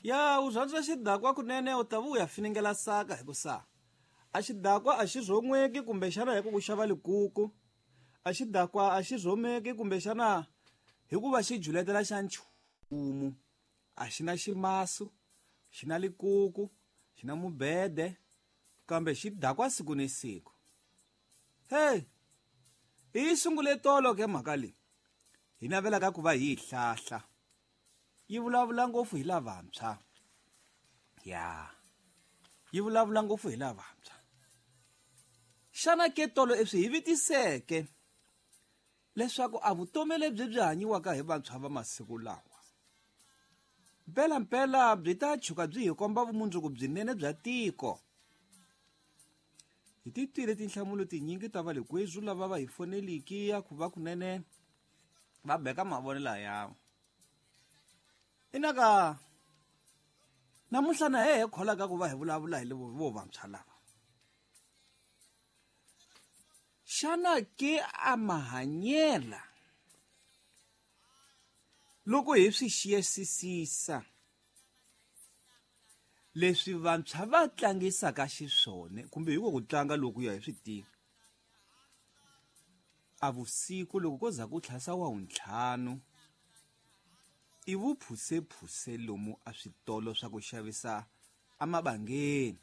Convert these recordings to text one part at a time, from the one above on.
Ya u rhandza xidakwa kunene u ta vuya finingela saka hi ku sa a xidakwa a xi rhon'weki kumbexana hi ku ku xava likuku, a xidakwa a xi rhomeki kumbexana hi ku va xi juletela xa nchumu. A xi na ximasu, xi na likuku, xi na mubede, kambe xi dakwa siku ni siku. Hey, hi yi sungule tolo ke mhaka leyi hi navelaka ku va hi yi hlahla. Yi vulavula ngopfu hi lavantshwa. Ya, yi vulavula ngopfu hi lavantshwa. Xana ke tolo eswi hi vitiseke leswaku a vutomi lebyi byi hanyiwaka hi vantshwa va masiku lawa mpelampela byi ta tshuka byi hi komba vumundzuku byinene bya tiko? Hi ti twile tinhlamulo tinyingi ta va le kwezu lava va hi foneliki ya ku va kunene va beka mavonelo ya inaka namuntlha na hehe kholaka ku va hi vulavula hi vo vantshwa lava. Xana ke a mahanyela loko hi swi xiyisisisa leswi vantshwa va tlangisaka xiswona kumbe hi ku tlanga loku ya hi swi tivi a vusiku loko ko za ku tlhasa wa wuntlhanu i vuphusephuse lomu a switolo swa ku xavisa emabangeni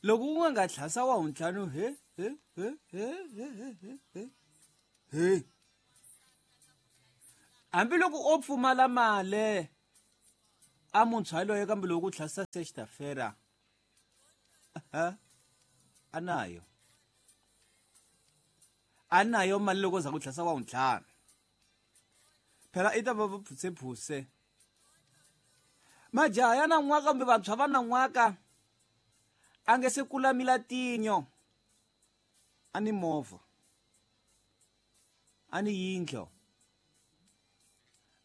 loko ku nga nga tlhasa wa wuntlhanu he he he he he he he he he hambiloko o pfumala mali a muntshwa yaloye kambe loko ku tlhasa sextafera a nayo a nayo mali loko za ku tlhasa wa wuntlhanu phela i ta va va phusephuse majaha ya nan'waka kumbe vantshwa va nan'waka a nge se kula milatinyo a ni movha a ni yindlo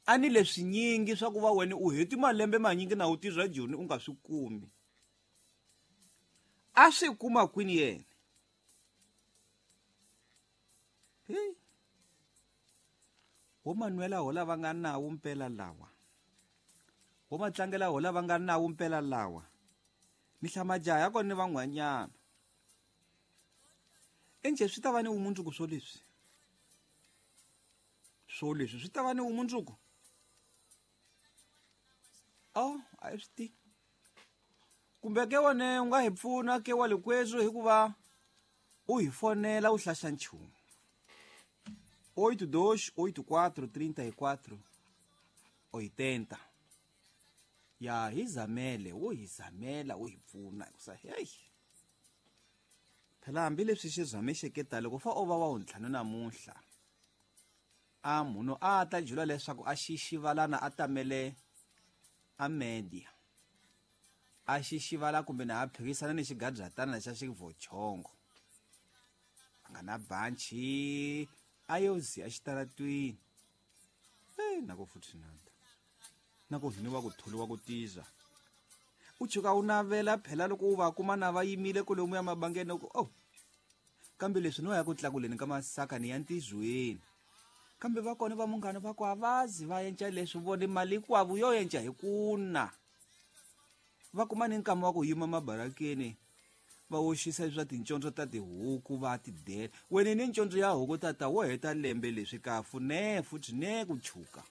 a ni leswinyingi swa ku va wena u heti malembe manyingi na u tirha joni u nga swi kumi a swi kuma kwini yena hey wo manwela ho lava nga nawu mpela lawa wo matlangela ho lava nga nawu mpela lawa ni hlamajaha ya kona ni van'wanyana enjhe swi ta va ni vumundzuku swo leswi swo leswi swi ta va ni vumundzuku oh a yi swi tivi kumbe ke wone u nga hi pfuna ke wa likwetsu hikuva u hi fonela u hlaxa nchumu 82 84 34 80 ya hi zamele wo hi zamela u hi pfuna hikusa heyi phela hambileswi xi zamexeke ta loko fa o va wa wuntlhanu namuntlha a munhu a ta jula leswaku a xixivalana a tamele a media a xixivala kumbe na a phikisana ni xigabyatana xa xivochongo a nga na banchi a yo ziya xitaratwini e na ku futhi nata na ku hiniwa ku tholiwa ku tiza u tshuka u navela phela loko u va kuma na va yimile kolomu ya mabangeni ku oh kambe leswi no ya ku tlakuleni ka masaka ni ya ntizweni kambe va kona va munghana va ku a va zi va yenca leswi vone mali hinkwavu yo yenca hi kuna va kuma ni nkama wa ku yima mabarakeni va oxisa swa tincondzo ta tihuku va ti dela wena ni ncondzo ya huku tata wo heta lembe leswi kafu ne futhi ne ku chuka.